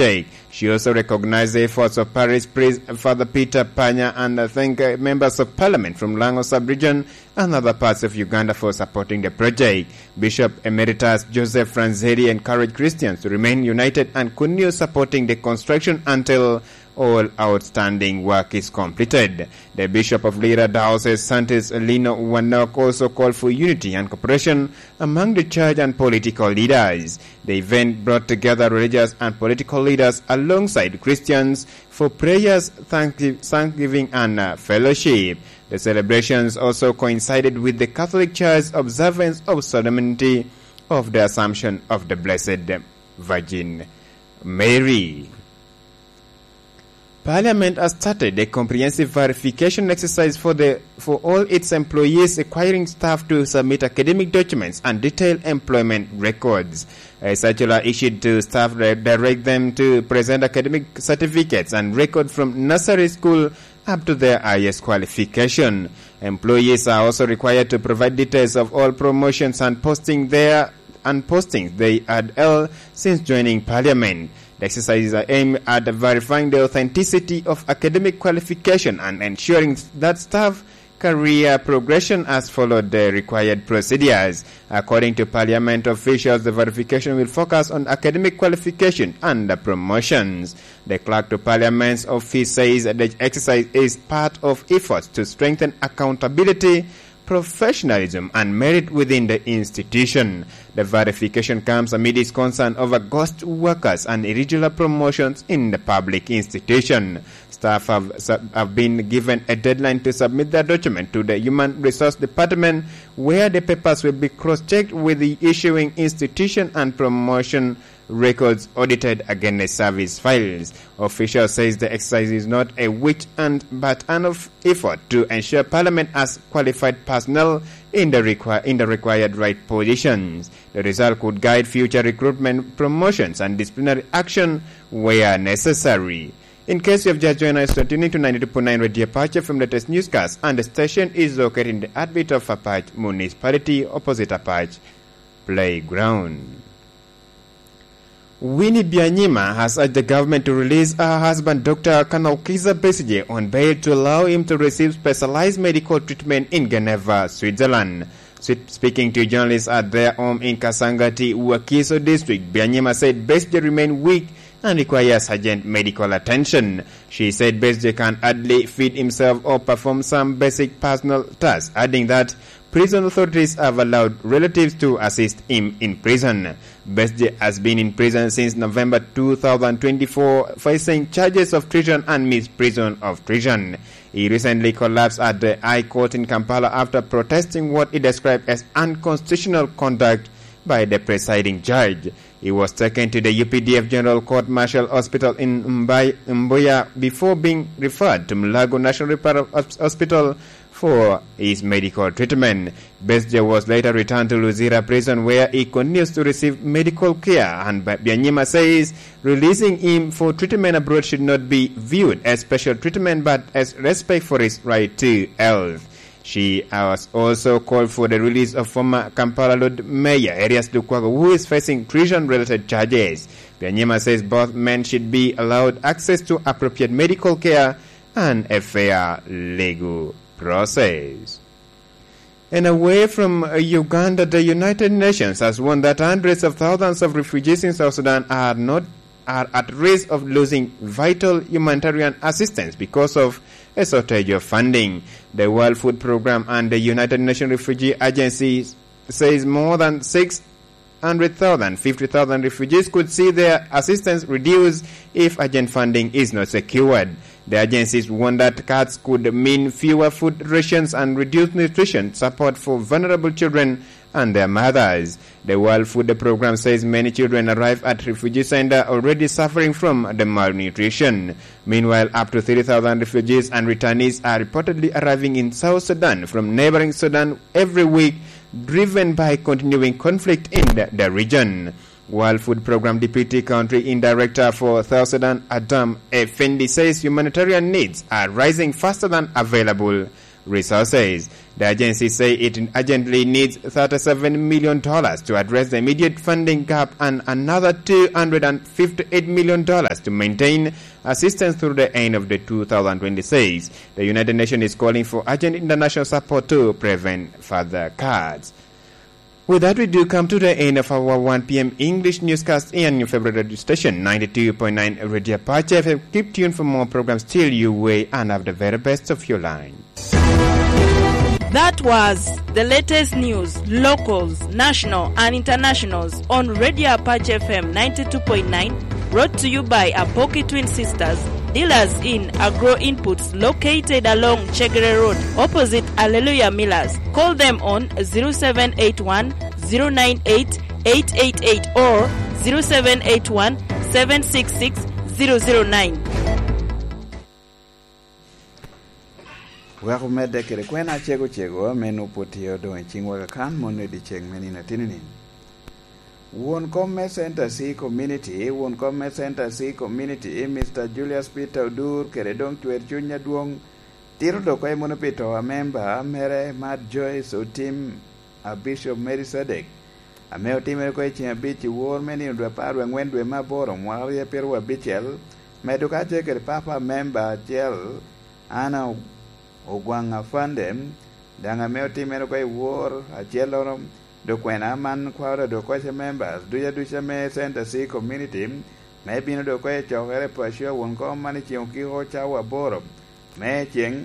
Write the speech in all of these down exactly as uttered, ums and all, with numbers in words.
project. She also recognized the efforts of Parish Priest Father Peter Panya and, uh, thank, uh, members of parliament from Lango sub-region and other parts of Uganda for supporting the project. Bishop Emeritus Joseph Franzeri encouraged Christians to remain united and continue supporting the construction until all outstanding work is completed. The Bishop of Lira Diocese, Santis Lino Wanok, also called for unity and cooperation among the church and political leaders. The event brought together religious and political leaders alongside Christians for prayers, thank-, thanksgiving, and, uh, fellowship. The celebrations also coincided with the Catholic Church's observance of solemnity of the Assumption of the Blessed Virgin Mary. Parliament has started a comprehensive verification exercise for the, for all its employees requiring staff to submit academic documents and detailed employment records. A circular issued to staff di-, direct them to present academic certificates and record from nursery school up to their highest qualification. Employees are also required to provide details of all promotions and posting there, and postings they had held since joining parliament. The exercises are aimed at verifying the authenticity of academic qualification and ensuring that staff career progression has followed the required procedures. According to parliament officials, the verification will focus on academic qualification and the promotions. The clerk to parliament's office says the exercise is part of efforts to strengthen accountability, professionalism, and merit within the institution. The verification comes amid its concern over ghost workers and irregular promotions in the public institution. Staff have sub-, have been given a deadline to submit their document to the Human Resource Department, where the papers will be cross-checked with the issuing institution and promotion records audited against the service files. Official says the exercise is not a witch hunt, but an of effort to ensure Parliament has qualified personnel in the requi-, in the required right positions. The result could guide future recruitment, promotions, and disciplinary action where necessary. In case you have just joined us, you're tuning to ninety-two point nine Radio Apache from latest newscast, and the station is located in the heartbeat of Apache Municipality, opposite Apache Playground. Winnie Byanyima has urged the government to release her husband, Doctor Kanol Kizza Besigye, on bail to allow him to receive specialized medical treatment in Geneva, Switzerland. Swi-, speaking to journalists at their home in Kasangati, Wakiso District, Byanyima said Besigye remain weak and requires urgent medical attention. She said Besigye can hardly feed himself or perform some basic personal tasks, adding that prison authorities have allowed relatives to assist him in prison. Besigye has been in prison since November two thousand twenty-four, facing charges of treason and misprision of treason. He recently collapsed at the High Court in Kampala after protesting what he described as unconstitutional conduct by the presiding judge. He was taken to the U P D F General Court Martial Hospital in Mbai-, Mbuya before being referred to Mulago National Referral Hos-, Hospital for his medical treatment. Besigye was later returned to Luzira Prison, where he continues to receive medical care, and Ba-, Byanyima says releasing him for treatment abroad should not be viewed as special treatment, but as respect for his right to health. She has also called for the release of former Kampala Lord Mayor Erias Lukwago, who is facing treason-related charges. Byanyima says both men should be allowed access to appropriate medical care and a fair legal process. And away from, uh, Uganda, the United Nations has warned that hundreds of thousands of refugees in South Sudan are not, are at risk of losing vital humanitarian assistance because of a shortage of funding. The World Food Programme and the United Nations Refugee Agency says more than six hundred thousand, fifty thousand refugees could see their assistance reduced if urgent funding is not secured. The agencies warn that cuts could mean fewer food rations and reduced nutrition support for vulnerable children and their mothers. The World Food Programme says many children arrive at refugee center already suffering from the malnutrition. Meanwhile, up to thirty thousand refugees and returnees are reportedly arriving in South Sudan from neighboring Sudan every week, driven by continuing conflict in the, the region. World Food Programme Deputy Country in Director for South Sudan, Adam Effendi, says humanitarian needs are rising faster than available resources. The agency say it urgently needs thirty-seven million dollars to address the immediate funding gap and another two hundred fifty-eight million dollars to maintain assistance through the end of the two thousand twenty-six. The United Nations is calling for urgent international support to prevent further cuts. With that, we do come to the end of our one p.m. English newscast in your favorite radio station, ninety-two point nine Radio Apache F M. Keep tuned for more programs till you way and have the very best of your line. That was the latest news, locals, national and internationals on Radio Apache F M ninety-two point nine, brought to you by Apoki Twin Sisters, dealers in agro inputs located along Chegere Road, opposite Alleluia Millers. Call them on zero seven eight one, zero nine eight, eight eight eight or zero seven eight one, seven six six, zero zero nine. Wek omedde kede kwena acego cego ame nwoŋo pwod tye odoŋ i ciŋwa kakan, mono i dyeceŋ me nino ateni-ni. Won kom me Center C Community, won kom me Center C Community, Mister Julius Peter Odur, kede doŋ cwer cuny adwoŋ, tito dok oko mono pi to a memba mere, Mad Joyce Otim, a Bishop Melkisedek, ame otimere oko i ceŋ abic i wor me nino dwe apar wie aŋwen dwe me aboro mwaka aryo pyeraryo abicel, medo kacel kede papa memba acel, Anna Ogwaŋ Afande, daŋ ame otimere oko i wor acellono, dok kwena man kwaro dok oko ce members duca duca me Center C Community, me bino dok oko i cokere i Pacua won kom man i ceŋ okiko cawa aboro me ceŋ,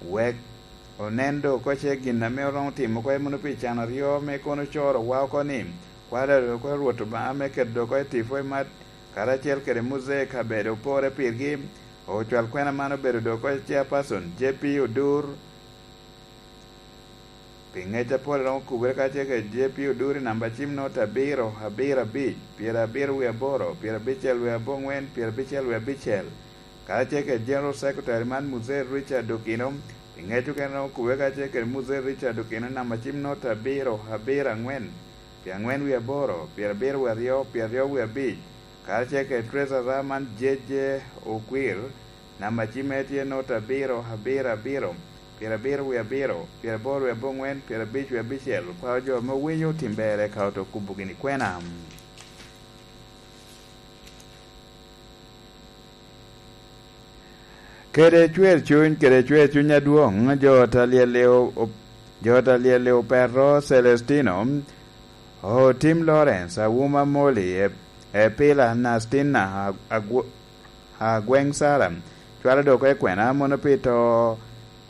wek onen dok oko ce gin ame oromo timo oko mono pi can aryo me kono coro wa oko ni, kwaro dok oko Rwot Obaŋa me keto dok oko i tipo i mat, karacel kede muzee kabedo opore pirgi. Ocwal kwena man obedo dok oko chairperson J P Odur. Pi ŋec apol romo kubere kacel kede J P Odur i namba cim nota abiro, abiro abic, pyerabiro wie aboro, pyerabicel wie aboŋwen, pyerabicel wie abicel, karacel kede General Secretary man Muzee Richard Okino. Pi ŋec okene romo kubere kacel kede Muzee Richard Okino i namba cim nota abiro, abiro aŋwen, pyeaŋwen wie aboro, pyerabiro wie aryo, pyeraryo wie abic, karacel kede Treasurer man J J Okwir. Namba cimme tye nota abiro, abiro, abiro, pyerabiro wie abiro, pyeraboro wie aboŋwen, pyerabic wie abicel. Kwaro jo ame owinyo tim berre ka oto kubo gini kwena. Kede cwer cuny, kede cwer cuny adwoŋ, jo ot a lyel-li o-, o-, jo ot a lyel-li opeto Celestino, Otim Lawrence, Awuma Moli, e, Epila Nastina, a, a, a gweŋ Sara, cwalo dok oko i kwena mono pi to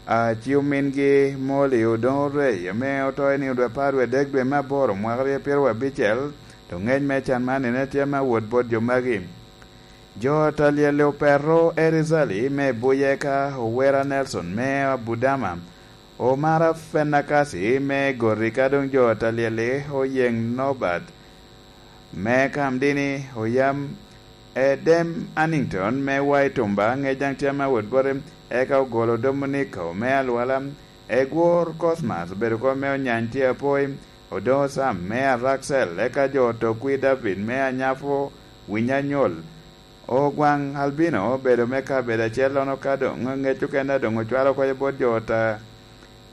a ci omingi Moli Odongo Rey, ame oto i nino dwe apar wie adek dwe me aboro mwaka aryo pyeraryo abicel, dok ŋec me can man en tye me awot bot jo magi. Jo ot a lyel-li opeto Erizali me Buyeka, Owera Nelson me Abudama, Omara Fenakasi me Goti, ka doŋ jo ot a lyel-li oyeŋ Nobat me Kamdini, oyam Edem Annington me Waitumba, ŋec daŋ tye ame awot bote, eka ogolo Dominiko me Alwala, Egwor Cosmas obedo kop me Onyany tye apoi, Odongo Sam me Araksel, eka jo ot Okwi David me Anyapo, Winyanyol, Ogwaŋ Albino obedo me kabedo acellono, ka doŋ ŋec okene doŋ ocwalo oko bot jo ot a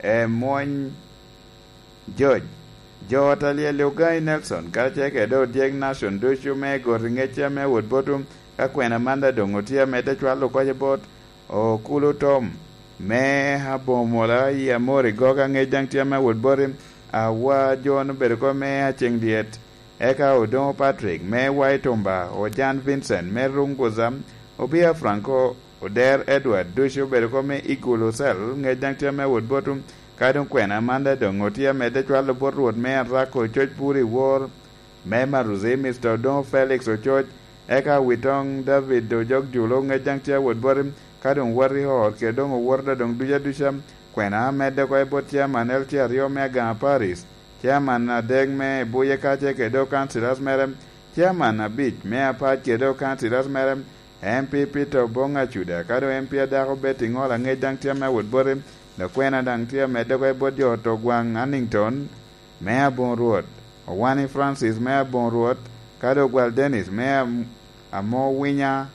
Emwony George. Jo ot a lyel-li Ogai Nelson, karacel kede odyek Nashon ducu me Goti, ŋec ame awot botwu, ka kwena man daŋ doŋ otye amedde cwalo oko bot Okulu Tom me Abomola i Amori Goga, ŋec daŋ tye ame awot boti, Awa John obedo kop me Aceŋ Dyet, eka Odoŋo Patrick me Waitumba, Ojan Vincent me Runguza, Obia Franco, Oder Edward, ducu obedo kop me Igulu Cell, ŋec daŋ tye ame awot botwu, ka doŋ kwena man daŋ doŋ otye amedde cwalo bot Rwot me Arako Coc Pur i Wor, me Maruzi, Mister Odoŋo Felix Ococ, eka Witoŋ David Ojok Julo, ŋec daŋ tye awot boti, ka doŋ wot i ot, kede doŋ owoto doŋ duca duca, kwena amedde oko i bot Chairman L T aryo me Agama Parish, Chairman adek me Buye kacel kede doŋ councillors mere, Chairman abic me Apac kede doŋ councillors mere, M P Peter Obong Acuda, ka doŋ M P adako Betty Ŋola, ŋec daŋ tye ame awot boti, dok kwena daŋ tye amedde oko i bot jo ot Ogwaŋ Annington me Aboŋo Rwot, Owani Francis me Aboŋo Rwot, ka doŋ Ogwal Dennis me Am-, Amowinya,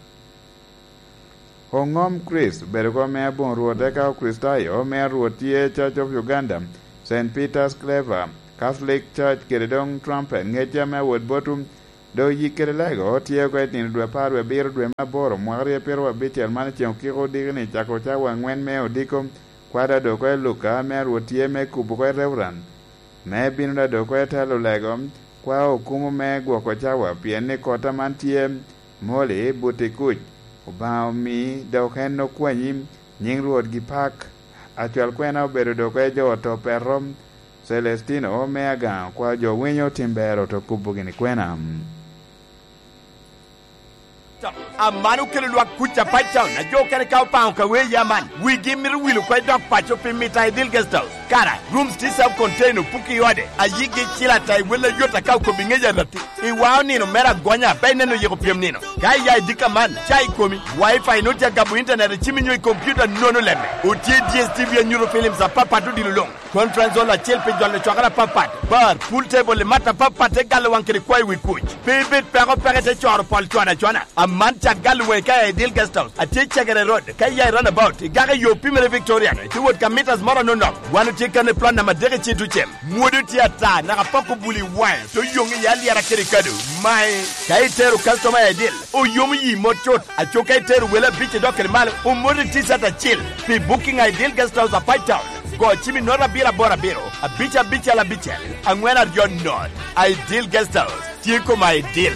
Oŋom Chris obedo kop me aboŋo Rwot, eka Okricitayo me a Rwot tye Church of Uganda, Saint Peter's Clever, Catholic Church kede doŋ Trumpet ŋecce ame awot botwu. Dok yik kede lego tye oko i nino dwe apar wie abiro dwe me aboro mwaka ryo pyeraryo abicel man i ceŋ okiko odiki ni cako cawa aŋwen me odiko, kwada dok oko i Luka ame a Rwot tye me kubo oko i Reverend. Me bino da dok oko i telo lego, kwa okumo me gwoko cawa, pien ni kota man tye moli buti kuc. Obaŋa omi, dok en okwanyi, nyiŋ Rwot gi pak. Acwal kwena obedo dok oko i jo oto peto, Celestino me Agaŋa, kwa jo winyo tim ber oto kubo gini kwena. Aman okelo lwak kuc a Pacetown, a jo okene ka opaŋo ka wee ya man, wigi mito wil oko i dok paco pi mita i Dil Guest House. Kara, rooms tye self contained, opuki i ode, a yigi cil ata i wel ayot aka okobi ŋec arati. I wa onino mere agonya, pe ineno yiko pyem nino. Ka iya i dika man, ca i komi, Wi-Fi nut ya gabo internet i cimi nyo i computer nono lemme. Otye D S T V anyuto films apapat odilo luŋ. Conference hall acel pi jolo cwakere apapat, bar, pool table i mat apapat te galo waŋ kede kwayo wi kuc. Pe ibed peko peke te coro pol cwana cwana. Aman cak galo waŋi ka i Dil Guest House, atye i Cegere Road, ka iya i roundabout, igako i yo pimere Victoria, itye wot ka meters moro anonok. Wan otye kan i plot namba adek i Citucem. Mwodo tye ata, naka poko buli i waŋe, te oyoŋ i alyera kede kado. Mae, ka itero customer i Dil, oyomo yi mot cut. Aco ka itero wele abic i dok kede malo, omoti t-shirt acil. Pi booking a Ideal Guest House a Pacetown, go cim i note abiro aboro abiro, abic abicel abicel, aŋwen aryo note. Ideal Guest House tye koma Ideal.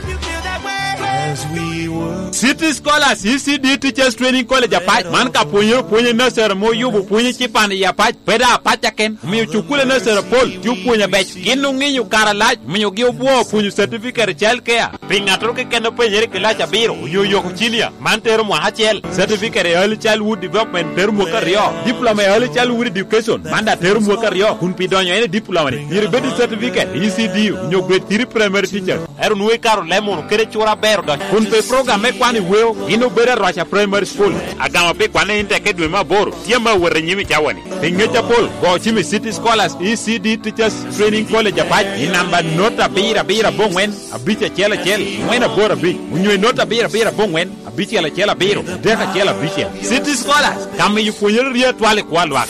City Scholars E C D Teachers Training College Apac, man ka pwonyere opwony i nursery ame oyubo pwony ecipan i Apac, pe daŋ Apac aken, omiyo cukule nursery apol tye opwonyo abec. Gin oŋinyo kare alac, omiogi obwoo pwonyo certificate i child care. Pi ŋattoro keken a penyere i kilac abiro onyo oyoko cinia, man tero mwaka acel, certificate i Early Childhood Development tero mwaka aryo, diploma i Early Childhood Education, man daŋ tero mwaka aryo, kun pi donyo en i diploma-ni, myero ibed ki certificate i E C D onyo grade three primary teachers. Ento nwoŋo ikato leb munu kede cura aber odonyo. Kun pi program me kwano i weo, gin obedo Arwaca Primary School. Agamo pi kwanne in tek i dwe me aboro, tye ame awot i nyim i cawa-ni. Pi ŋec apol, go cim i City Scholars E C D Teachers Training College Apac i namba not abiro abiro aboŋwen, abic acel acel, ŋwen aboro abic, onyo i not abiro abiro aboŋwen, abicel acel abiro, adek acel abicel. City Scholars, ka miyo pwonyere rye atwal i kwo a lwak.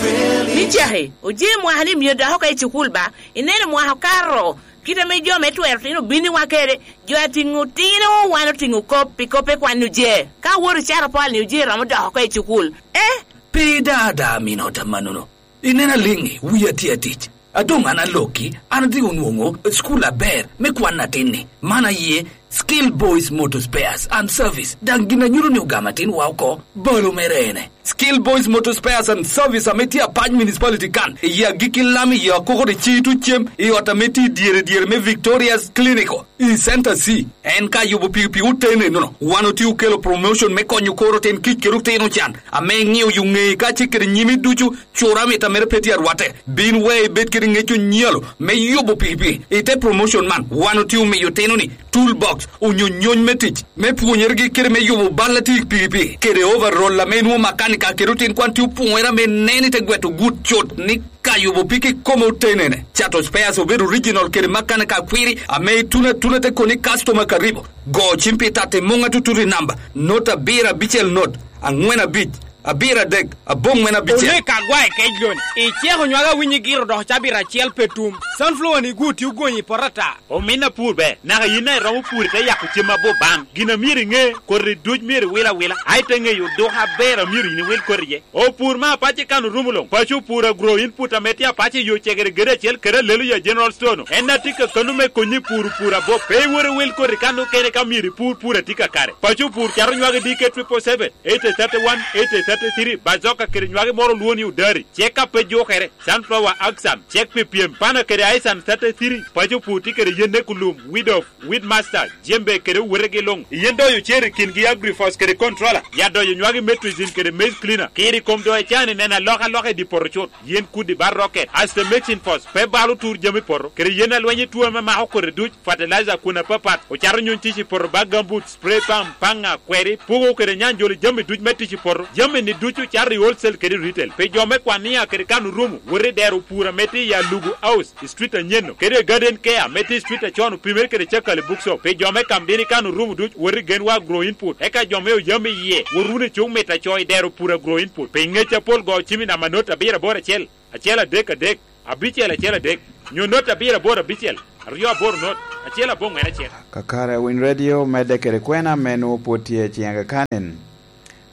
Ni caki, oje mwaka ni myero dok oko i cukul ba, ineno mwaka okato, kit ame jo me twero tino biniwa kede, jo atiŋo tino, wan otiŋo kop, pi kop pe kwan oje. Ka awoto cato pol ni oje romo dok oko i cukul. Eh? Pe ida ada minota manono. Ineno aliŋi, wia tye atic. A doŋ an alokki, an atyeko nwoŋo cukul aber me kwan atin-ni. Man aye Skill Boys Motor Spares and Service. Daŋ gin a nyuto ni ogamo atinwa oko, balo mere ene. Skill Boys Motor Spares and Service ame tye Apac Municipality kan, i agikki lam i Akoko de Citu cem, i ot ame tye i dyere dyere me Victoria's Clinical, i Center C. En ka yubo pikipiki oten enono, wan otye okelo promotion me konyo kor oten kic kede otino can, ame iŋiyo yo ŋeyi kacel kede nyimi ducu. Cura mit a mere pe tye arwatte. Bin we ibed kede ŋec onyalo me yubo pikipiki. I te promotion man, wan otye omiyo otino-ni toolbox, onyo nyony me tic, me pwonyeregi kede me yubo bal a tye i pikipiki, kede overall ame nwoŋo makanika kede otin kwan tye opwonyere ame nen i te gweto gut cut ni ka yubo piki kome otenene. Cato spares obed original kede makanika akwiri ame ituno atuna te koni customer karibu. Go cim pi tatti muŋ atutut i namba, not abiro abicel not, aŋwen abic, abiro adek, aboŋwen abicel. Oneka agwae kec loni. Iceko nywage awinyi giro dok cabit acel pe tum. Sunflower ni gu tye ogonyi i poto ata. Omin apur ber, naka yin daŋ iromo pur ite yako cem abop baŋ. Gin a myero iŋe, koti duc myero iwil awila, a ite ŋeyo oduko aber a myero yin iwil koti iye. Opur me apac i kan orumo luŋ. Paco opur agro input ame tye apac i yo cegere gede acel kede Aleluya General Store-nu. En a tye kakano me konyi i puro pur abop. Pe iwot iwil koti kan okene ka myero ipur pur a tye kakare. Paco opur cato nywage D K triple seven, eighty thirty-one, eighty thirty-three, Bazoka kede nywage moro olwongo ni Odari. Cek a pe jukere, Sunflower Axan, cek pi pyem, Pana kede Aisan thirty-three, paco pur tye kede yen ne kulum, Weed Off, Weed Master, Jembe kede owetegi luŋ. Yen doyo cer i kingi Agrifos kede Controller, ya doyo nywagi Metrizin kede Maize Cleaner. Kiri kom doyo can i neno alokaloka i dye poto cut. Yen kudi bal rocket, Aster Mixing Force, pe balo tur jami poto, kede yen alweny i tuo ame mako kodi duc, fertilizer kun apapat, ocato nyuny tic i poto ba gambut, spray pump, paŋa, kweri, pugo kede nyanjolo jami duc me tic i poto. Jami ni ducu cato i wholesale kede retail. Pi jo me Kwania kede kan orumo, wot i dero pur ame tye i Alugu House, i street anyen-nu, kede i Garden Care ame tye i street acon opimere kede Cakali Bookshop. Pi jo me Kamdini kan orumo ducu, wot i Genwa Agro Input. Eka jo me Oyam iye, wot wunu i cuk mit aco i dero pur Agro Input. Pi ngec apol go cim i namba not abiro aboro acel, acel adek adek, abicel acel adek, nyo not abiro aboro abicel, aryo aboro not, acel aboŋwen acel. Kakare Winy Radio medde kede kwena ame nwoŋo pwod tye i ciŋ akakanen.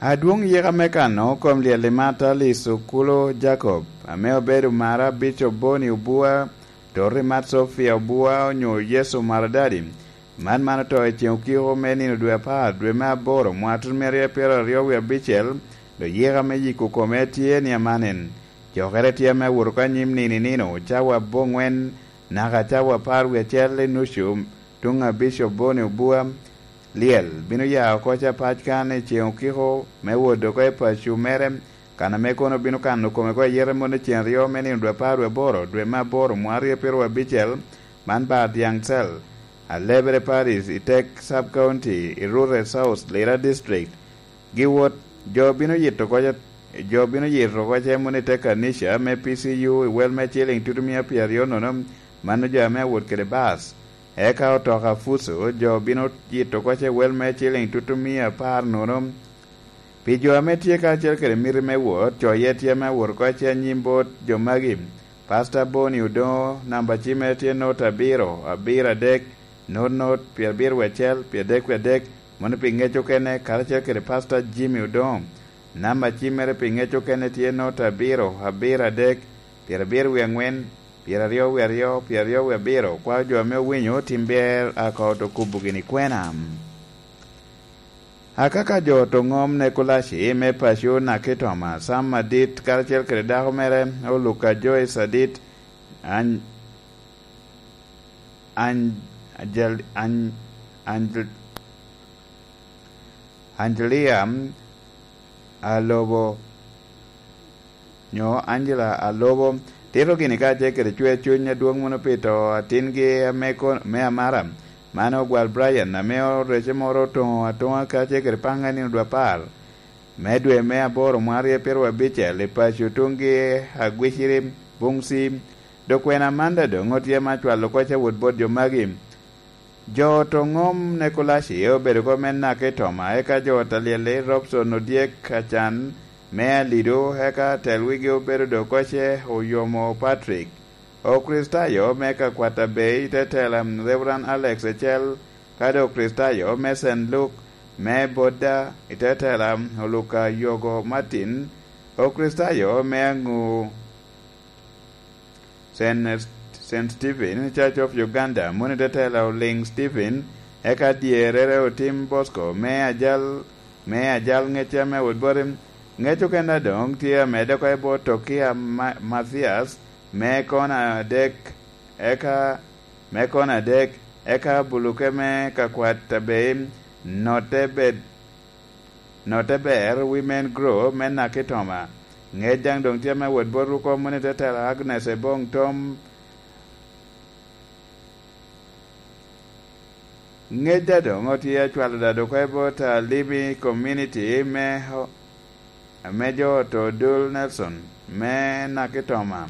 Adwoŋ yika me kano kom lyel i Mata Licukulo Jacob, ame obedo mara Bicop Boni Obua, Tori Mat Sofia Obua, onyo Yecu Maradadi. Man man oto i ceŋ okiko me nino dwe apar, dwe me aboro, mwaka tun me aryo pyero aryo wie abicel, dok yika me yiko kome tye ni amanen. Cokere tye ame awot oko anyim nino i nino, cawa aboŋwen naka cawa apar wie acel i nucu, tuŋ a Bicop Boni Obua. Lyel bino ya oko capac kan i ceŋ okiko me wot oko i paco mere, kan ame kono bino kano kome oko ayete mot i ceŋ aryo me nino dwe apar wie aboro, dwe me aboro, mwaka aryo pyero abicel, man bar Diaŋ Cel, Alebere Paris, i Tek Sub County, i Rurre South, Lira District. Giwot, jo bino yito oko, jo bino yito oko cem wunu i te kanica me P C U i wel me ciliŋ tutumia pyeraryo nono, mano jo ame awot kede bas. Eka otoka Fuso, jo bino yito oko ce wel me ciliŋ tutumia apar nono. Pi jo ame tye karacel kede miti me wot, coye tye ame awot oko ce anyim bot jo magi. Pasta Boni Odoŋo, namba cimmere tye not abiro, abiro adek, not not, pyerabiro wie acel, pyeradek wie adek, mano pi ŋec okene, karacel kede Pasta Jimmy Odoŋo. Namba cimmere pi ŋec okene tye not abiro, abiro adek, pyerabiro wie aŋwen, pyeraryo wie aryo, pyeraryo wie abiro. Kwao jo ame owinyo tim ber a koto kubo gini kwena. Akaka jo to ŋom Nekolaci me paco Nakitoma, Sam Adit, karacel kede dako mere Oluka Joyce Adit, An-, An-, Angel-, An-, Angel-, Angelia Alobo, nyo Angela Alobo, tito gini kacel kede cwer cuny adwoŋ mono pi to atingi ame ko-, me amara, mano ogwal Brian, ame orece moro otoŋo atoŋa kacel kede paŋ a nino dwe apar me dwe me aboro mwaka aryo pyeraryo abicel i paco tuŋgi Agwiciri, Buŋci. Dok kwena Amanda doŋ otye ma cwalo kocca wot bot jo magi. Jo to ŋom Nekolaci obedo oko me Nakitoma, eka jo Talyeli Robson Odyek Acan me Alido, eka tel wigi obedo dok kocce Oyomo Patrick. Okricitayo me Kakwata Bay i te tela Reverend Alex Ecel, kadi Okricitayo me Saint Luke me Bodda i te tela Oluka Yogo Martin, Okricitayo me Aŋu Saint, Saint Stephen Church of Uganda, moni te tela Oliŋ Stephen, eka dyerere Otim Bosco me ajal, me ajal ŋecce ame wot boti. Ŋec okene doŋ tye amedde oko i bot Tokia Ma-, Mathias me kona adek, eka me kona adek, eka buluke me Kakwat Abeim, note bed, note ber Women Grow me Nakitoma. Ŋec daŋ doŋ tye me wot bot ruko moni te tela Agnes Ebong Tom. Ŋec daŋ doŋ otye acwalo dado oko i bot Alimi Community me, me jo oto Dul Nelson me Nakitoma.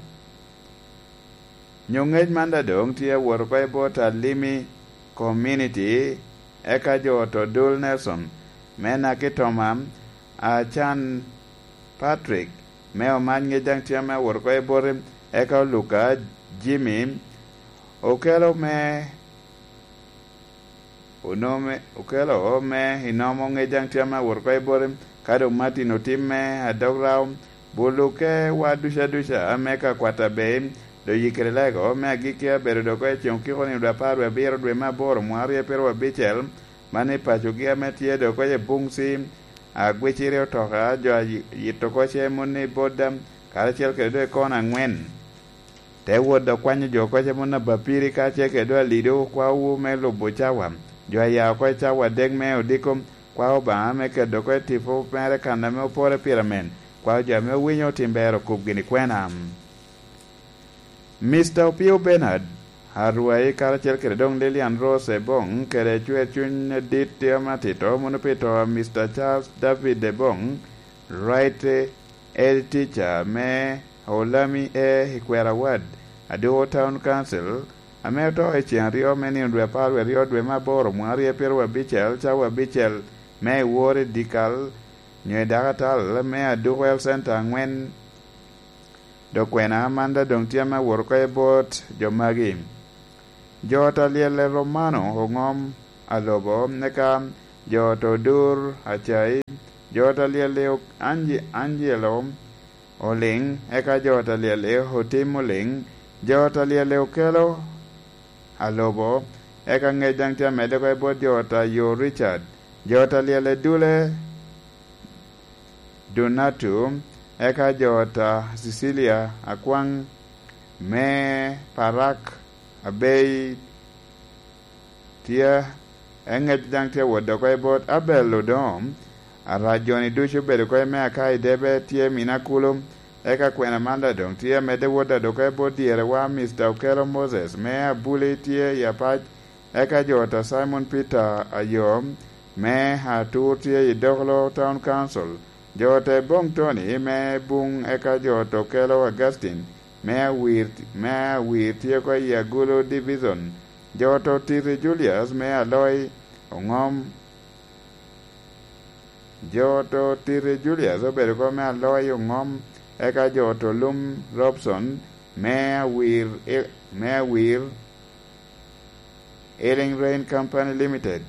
Nyo ŋec man daŋ doŋ tye awot oko i bot Alimi Community, eka jo oto Dul Nelson me Nakitoma, Acan Patrick me Omac ŋec daŋ tye ame awot oko i bote, eka Oluka Jimmy okelo me Onome, okelo me inomo ŋec daŋ tye ame awot oko i bote, ka doŋ Martin Otim me Adog Rao, buluke wa duca duca ame ka kwat aber, doŋ yikere lego me agikki abedo doŋ oko i ceŋ okiko nino dwe apar wie abiro dwe me aboro mwaka aryo pyeraryo abicel, man i pacogi ame tye doŋ oko i Buŋci, agwiciri otoka, jo a yi-, yito oko ce moni boda, karacel kede doŋ i kona aŋwen. Te wot dok kwanyo jo oko ce moni abapiri kacel kede doŋ alido kwawu me lubo cawa. Jo a ya oko i cawa adek me odiko, kwao Obaŋa me keto oko i tipo mere kan ame opore pire amen. Kwao jo ame owinyo otim ber okub gini kwena. Mister Opio Bernard, Arwai karacel kede doŋ Lilian Rose Ebong kede cwer cuny adit tye ame atito mono pi to a Mister Charles David Ebong, Right Ed Teacher me Olami E. Ikwera Ward, Aduko Town Council, ame oto i ceŋ aryo me nino dwe apar wie aryo dwe me aboro mwaŋ aryo pyeraryo abicel, cawa abicel me i wor i dyekal nyo i dakatal me Aduko Health Center aŋwen. Dok kwena man daŋ doŋ tye ame awot oko i bot jo magi. Jo ot a lyel i Romano oŋom Alobo, eka jo ot Odur Acai, jo ot a lyel i Angi-, Angelo Oliŋ, eka jo ot a lyel i Otim Oliŋ, jo ot a lyel i Okelo Alobo, eka ŋec daŋ tye amedde oko i bot jo ot a Yo Richard, jo ot a lyel i Dule Donatu, eka jo ot a Cecilia Akwaŋ me Parak Abei tye, eŋec daŋ tye wot oko i bot Abel Odom, arac joni ducu obedo oko i me aka i debe tye mina kulu, eka kwena man daŋ doŋ tye amedde wot oko i bot dyerewa Mister Okelo Moses me Abuli tye i Apac, eka jo ot a Simon Peter Ayo me Atur tye i Dokolo Town Council, jo ot a Ebong Tony me Buŋ, eka jo ot Okelo Augustine me Awir, me Awir tye oko i Agulu Division, jo ot Otiti Julius me Aloi Oŋom, jo ot Otiti Julius obedo oko me Aloi Oŋom, eka jo ot Olum Robson me Awir, me Awir Healing Rain Company Limited.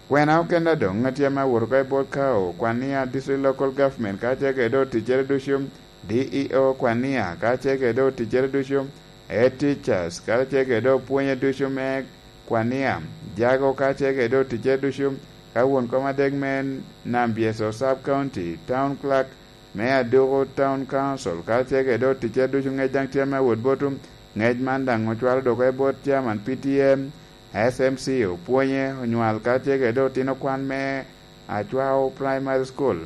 Kwena okene doŋ atye ame awot oko i bot Kao, Kwania District Local Government, ka tye kede oticcere ducu, D E O Kwania, ka tye kede oticcere ducu, Head Teachers, ka tye kede opwonye ducu me Kwania, Jago, ka tye kede oticcere ducu, ka won kom adek me Nam Byeso Sub County, Town Clerk, me Aduku Town Council, ka tye kede oticcere ducu, ŋec daŋ tye ame awot botwu. Ŋec man daŋ ocwalo dok oko i bot Chairman P T M, S M C, opwonye, onywal, ka tye kede otino kwan me Acwao Primary School.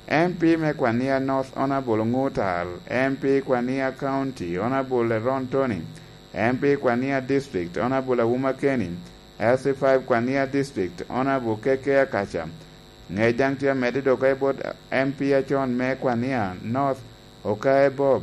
M P me Kwania North, Honourable Oŋutar, M P Kwania County, Honourable Eron Tony, M P Kwania District, Honourable Awuma Kenny, L C five Kwania District, Honourable K K Akaca. Ŋec daŋ tye amedde dok oko i bot M P acon me Kwania North, Okae Bob,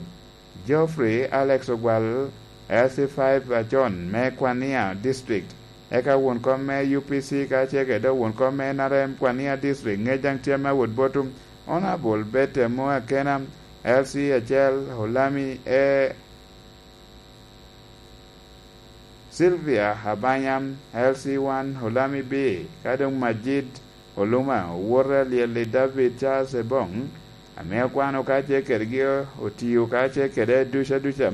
Geoffrey Alex Ogwal, L C five acon me Kwania District, eka won kom me U P C ka tye kede won kom me N R M Kwania District. Ŋec daŋ tye ame awot botwu, Honourable Betty Amoo Akena, L C acel, Olami E. Sylvia Abanya, L C one, Olami B, ka doŋ Majid Oluma, owote a lyel i David Charles Ebong, ame okwano ka tye kedgi, otio ka tye kede duca duca.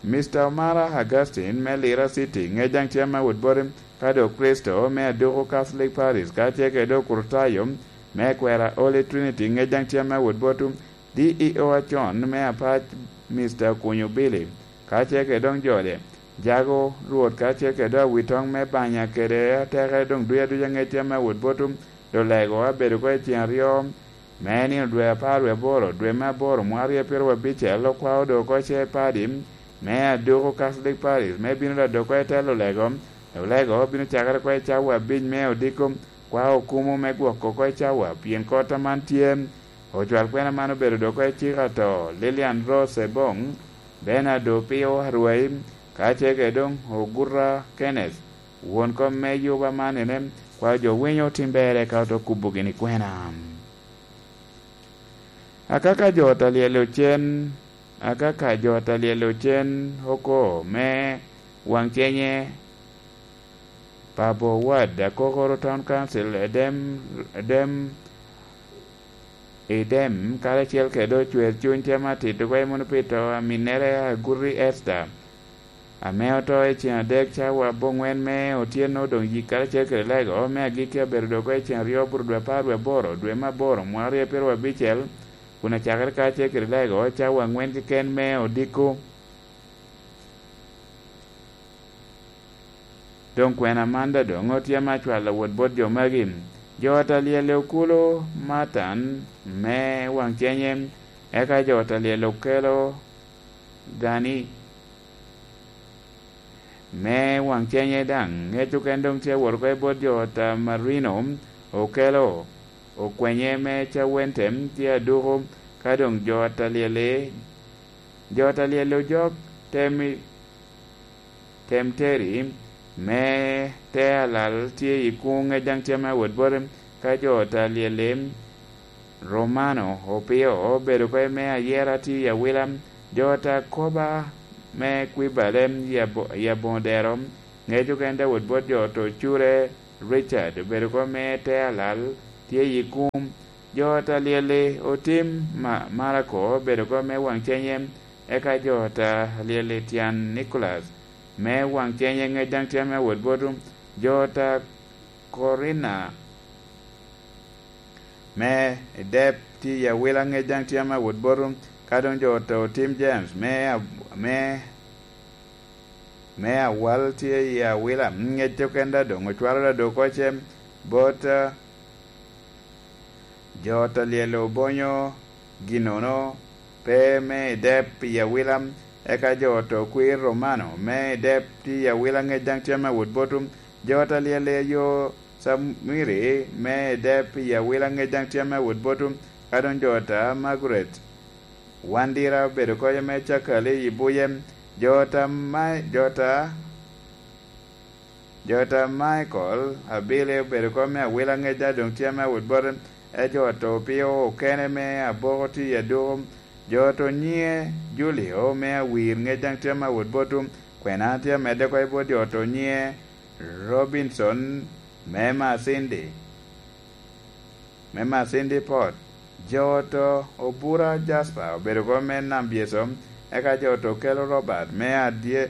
Mister Omara Augustine me Lira City, ŋec daŋ tye ame awot boti, ka doŋ Kricito me Aduku Catholic Parish, ka tye kede Okrutayo me Kwera Holy Trinity, ŋec daŋ tye ame awot botwu. D E O acon me Apac, Mister Kunyo Billy, ka tye kede doŋ jode, Jago Rwot, ka tye kede awitoŋ me Banya kede atekere doŋ duc aduca, ŋec tye ame awot botwu. Dolego abedo oko i ceŋ aryo me nino dwe apar wie aboro, dwe me aboro, mwaka aryo pyeraryo abicel, okwao doŋ oko ce padi me Aduku Catholic Parish me bino ladok oko i telo Olego. Olego bino cakere oko i cawa abic me odiko, kwao okumo me gwoko oko i cawa, pien kot aman tye. Ocwal kwena man obedo dok oko i cik ato, Lilian Rose Ebong, Bernard Opio Arwai, ka tye kede doŋ Oguta Kenneth, won kom me yuba man ene, kwao jo winyo tim berre ka oto kubo gini kwena. Akaka jo ot a lyel ocen, akaka jo ot a lyel ocen oko me Waŋcenye, Pabo Ward, Akokoro Town Council, Edem, Edem, Edem, karacel kede ocwer cuny tye ame atito kwo i muno pi to a minnere Aguti Esther, ame oto i ceŋ adek cawa aboŋwen me otyeno, doŋ yik karacel kede Lego me agikki abedo dok oko i ceŋ aryo bur dwe apar wie aboro, dwe me aboro, mwaka aryo pyeraryo abicel, kun acakere karacel kede Lego cawa aŋwen keken me odiko. Doŋ kwena man daŋ doŋ otye ame acwalo wot bot jo magi, jo ot a lyel i okulu Matan me Waŋcenye, eka jo ot a lyel okelo Gani me Waŋcenye daŋ. Ŋec oken doŋ tye awot oko i bot jo ot a Marino, okelo okwenye me cawen tem tye aduko, ka doŋ jo ot a lyel-li, jo ot a lyel-li ojok tem i, tem teri, me te alal tye i kuŋ, ŋec daŋ tye me awot boti, ka jo ot a lyel-li, Romano Opio obedo oko me ayera tye i awila, jo ot a koba me kwibale i abo-, i aboŋo dero, ŋec okene Dawot bot jo ot ocure, Richard obedo oko me te alal tye i kuŋ, jo ot a lyel-li otim ma-, Marako obedo oko me waŋ cenye, eka jo ot a lyel-li tyen Nicholas me waŋ cenye, ŋec daŋ tye me awot boti, jo ot a Corina me i dep tye i awila, ŋec daŋ tye me awot boti, ka doŋ jo ot a otim James me ab-, me, me awal tye i awila, ŋec okene doŋ ocwalo dado oko ce bot, eh, jo ot a lyel obonyo ginnono pe me i dep i awila, eka jo ot a okwir Romano me i dep tye i awila, ŋec daŋ tye me awot boti, jo ot a lyel ayo Samiri me i dep i awila, ŋec daŋ tye me awot boti, ka doŋ jo ot a Margaret Wandira obedo oko me cakali i buye, jo ot a Ma-, jo ot a Jo ot a Michael Abili obedo oko me awila, ŋec daŋ doŋ tye me awot boti, e jo ot a Opio okene me aboko tye i aduko, jo ot a onyiŋe Julio me awir, ŋec daŋ tye me awot boti, kwena tye amedde oko i bot jo ot a onyiŋe Robinson me Masindi. Me Masindi Port, jo ot a Obura Jasper obedo oko me Nam Byeso, eka jo ot a Okelo Robert me adye-,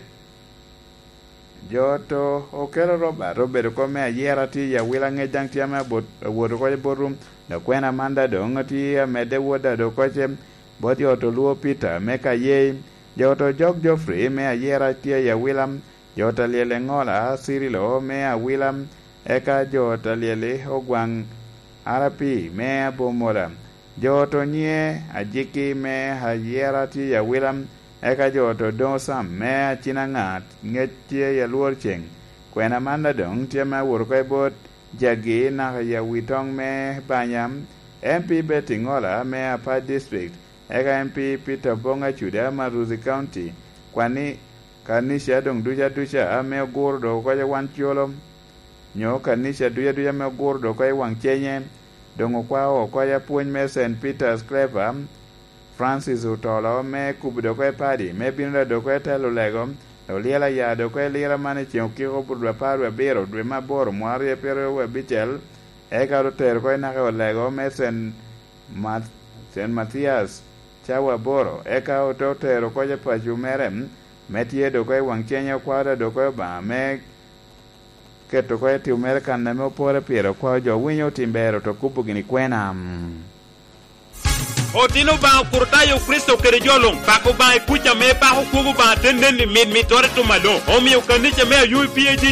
jo ot a Okelo Robert obedo oko me ayera tye i awila, ŋec daŋ tye ame abot-, awot oko i bot-, dok kwena man daŋ doŋ tye amedde wot dado oko ce bot jo ot a Olwo Peter me Kayei, jo ot a Ojok Geoffrey me ayera tye i awila, jo ot a Lyel Eŋola Cirilo me awila, eka jo ot a Lyel Ogwaŋ R P me Abomola, jo ot a Onyiŋe Ajiki me ayera tye i awila, eka jo ot a Odoŋo Sam me Acinaŋa ŋec tye i Alworceng. Kwena man daŋ doŋ tye me awot oko i bot Jagi naka i Awitoŋ me Banya, M P Betty Ŋola me Apac District, eka M P Peter Oboŋ Acuda me Arusi County, kwani kanica doŋ duca duca ame oguro dok oko i wan colo, nyo kanica duca duca ame oguro dok oko i waŋ cenye, doŋ okwao oko i apwony me Saint Peter's Clever, Francis Otolo me kubo dok oko i padi, me bino da dok oko i telo lego, olyelo aya dok oko i lira man i ceŋ okiko dwe apar wie abiro, dwe me aboro, mwaka aryo pyeraryo wie abicel, eka otero oko i naka olego me Saint Math-, Saint Mathias, cawa aboro, eka ote otero oko i paco mere, me tye dok oko i waŋ cenye okwao da dok oko i Obaŋa, me keto oko i tim mere kan ame opore pire, okwao jo winyo otim ber, oto kubo gini kwena. Otino Obaŋa Okricitayo Kricito kede jo luŋ, pako Obaŋa i kuc ame ipako kwogo Obaŋa te nen i mit mittere i tum aloŋ. Omio kanica me Ayubi P A G